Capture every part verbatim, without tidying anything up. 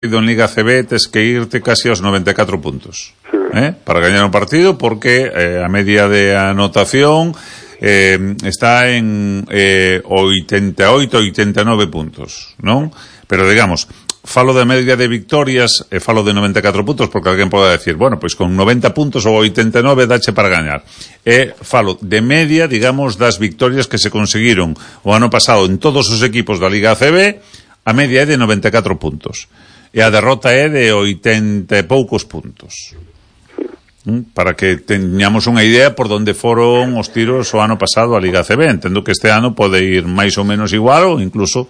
en Liga C B tes que irte casi aos noventa e catro puntos, eh, para gañar un partido, porque eh, a media de anotación eh, está en eh, oitenta e oito, oitenta e nove puntos, non? Pero digamos, falo de media de victorias e falo de noventa e catro puntos, porque alguén pode decir, bueno, pois con noventa puntos ou oitenta e nove dache para gañar. E falo de media, digamos, das victorias que se conseguiron o ano pasado en todos os equipos da Liga C B. A media é de noventa e catro puntos e a derrota é de oitenta e poucos puntos, para que teñamos unha idea por onde foron os tiros o ano pasado a Liga C B. Entendo que este ano pode ir máis ou menos igual ou incluso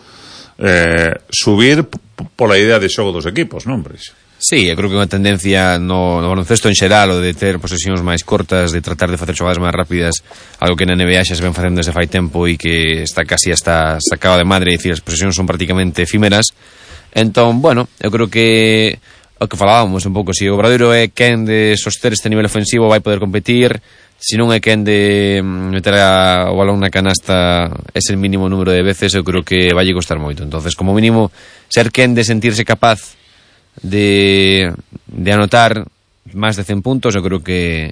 eh, subir pola idea de xogo dos equipos, non, Breixo? Sí, eu creo que unha tendencia no, no baloncesto en xeral, o de ter posesións máis cortas, de tratar de facer xogadas máis rápidas, algo que na N B A xa se ven facendo desde fai tempo e que está casi hasta sacado de madre, é dicir, as posesións son prácticamente efímeras. Entón, bueno, eu creo que o que falábamos un pouco, se o Obradoiro é quen de soster este nivel ofensivo vai poder competir, se non é quen de meter a, o balón na canasta ese mínimo número de veces, eu creo que vai costar moito. Entonces, como mínimo, ser quen de sentirse capaz de, de anotar máis de cen puntos, eu creo que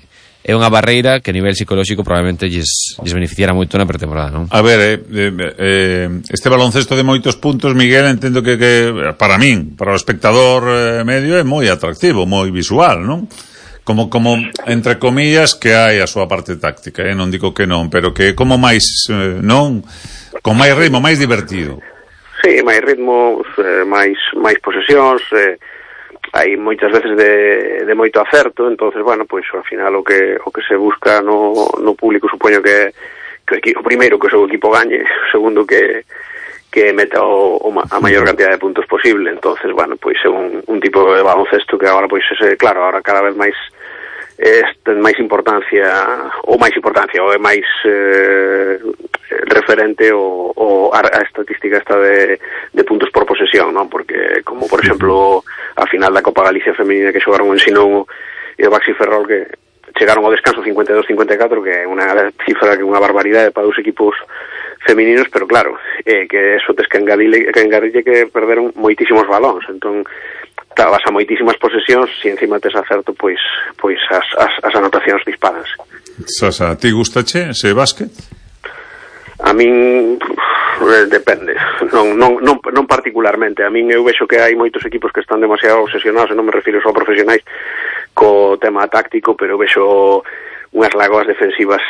é unha barreira que a nivel psicolóxico probablemente lles, lles beneficiara moito na pretemporada, non? A ver, eh, eh, este baloncesto de moitos puntos, Miguel, entendo que, que para min, para o espectador eh, medio, é moi atractivo, moi visual, non? Como, como, entre comillas, que hai a súa parte táctica, eh? Non digo que non, pero que como máis, eh, non? Con máis ritmo, máis divertido. Sí, máis ritmo, eh, máis, máis posesións, eh, hai moitas veces de, de moito acerto, entonces, bueno, pois ao final o que o que se busca no, no público supoño que, que o, equipo, o primeiro que o seu equipo gañe, o segundo que que meta o, o, a maior cantidad de puntos posible. Entonces, bueno, pois é un, un tipo de baloncesto que agora, pois, ese, claro, agora cada vez máis é, ten máis importancia, ou máis importancia, ou é máis eh, referente o, o a, a estatística esta de, de puntos por posesión, non? Porque, como por exemplo, a final da Copa Galicia Femenina que xogaron en Sinón e o Baxi Ferrol, que chegaron ao descanso cincuenta e dos cincuenta e catro, que é unha cifra que é unha barbaridade para os equipos femininos, pero claro, eh, que eso tes que engadile que, engadille que perderon moitísimos balóns, entón vas a moitísimas posesións, se encima tes acerto, pois pois as, as, as anotacións disparas. Sasa, ti gustache ese básquet? A min pff, depende, non, non, non, non particularmente. A min eu vexo que hai moitos equipos que están demasiado obsesionados, e non me refiro só a profesionais, co tema táctico, pero vexo unhas lagoas defensivas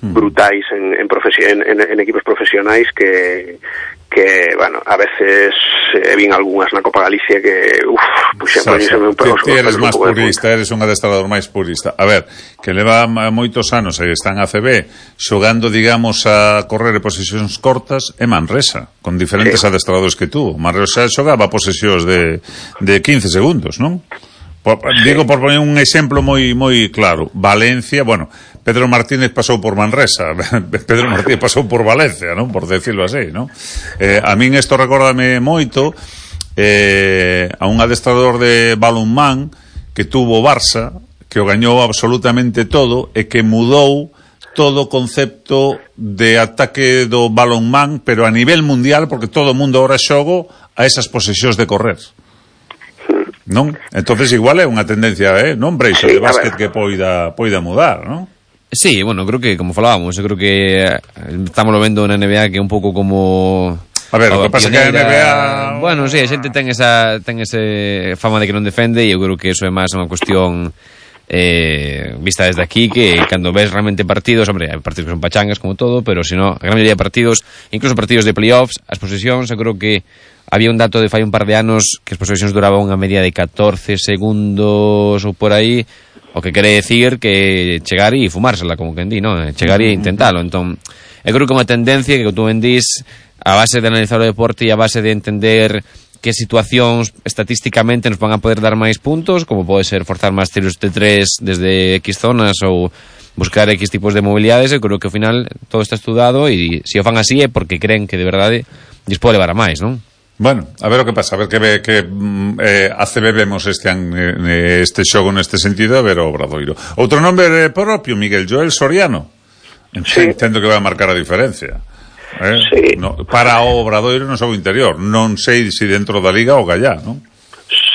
brutais en, en, en, en, en equipos profesionais que, que, bueno, a veces eh, vin algunhas na Copa Galicia que, uff, puxa, poñíseme un pelos. Ti eres máis purista, eres un adestrador máis purista. A ver, que leva moitos anos e están a C B xogando, digamos, a correr e posesións cortas é Manresa, con diferentes sí. adestradores que tú. Manresa xogaba posesións de, de quince segundos, non? Por, digo por poner un exemplo moi moi claro. Valencia, bueno, Pedro Martínez pasou por Manresa, Pedro Martínez pasou por Valencia, non? Por decirlo así, non? Eh, a min isto recórdame moito eh, a un adestrador de balonmán que tuvo Barça, que o gañou absolutamente todo e que mudou todo o concepto de ataque do balonmán, pero a nivel mundial, porque todo o mundo ahora xogo a esas posesións de correr. Non? Entonces igual é unha tendencia, eh, non, Breixo, sí, de básquet que poida poida mudar, non? Sí, bueno, creo que, como falábamos, eu creo que estamos vendo na N B A que é un pouco como... A ver, o que pasa que a N B A... Bueno, sí, a xente ten esa ten ese fama de que non defende, e eu creo que eso é máis unha cuestión eh, vista desde aquí, que cando ves realmente partidos, hombre, hai partidos que son pachangas como todo, pero se non, a gran maioría de partidos, incluso partidos de playoffs, as posesións, eu creo que había un dato de fai un par de anos que as posesións duraban unha media de catorce segundos ou por aí, o que quere decir que chegar e fumársela, como quen di, non? Chegar e intentalo. Entón, eu creo que é unha tendencia que, como tú ben dís, a base de analizar o deporte e a base de entender que situacións estatísticamente nos van a poder dar máis puntos, como pode ser forzar máis tiros de tres desde X zonas ou buscar X tipos de mobilidades. Eu creo que ao final todo está estudado e se o fan así é porque creen que de verdade lles pode levar a máis, non? Bueno, a ver o que pasa, a ver que, ve, que eh, a C B vemos este, eh, este xogo neste sentido, a ver o Obradoiro. Outro nombre propio, Miguel Joel Soriano. Sí. Entendo que vai a marcar a diferencia. Eh? Sí. No, para o Obradoiro no xogo interior. Non sei se dentro da Liga ou gallá, non?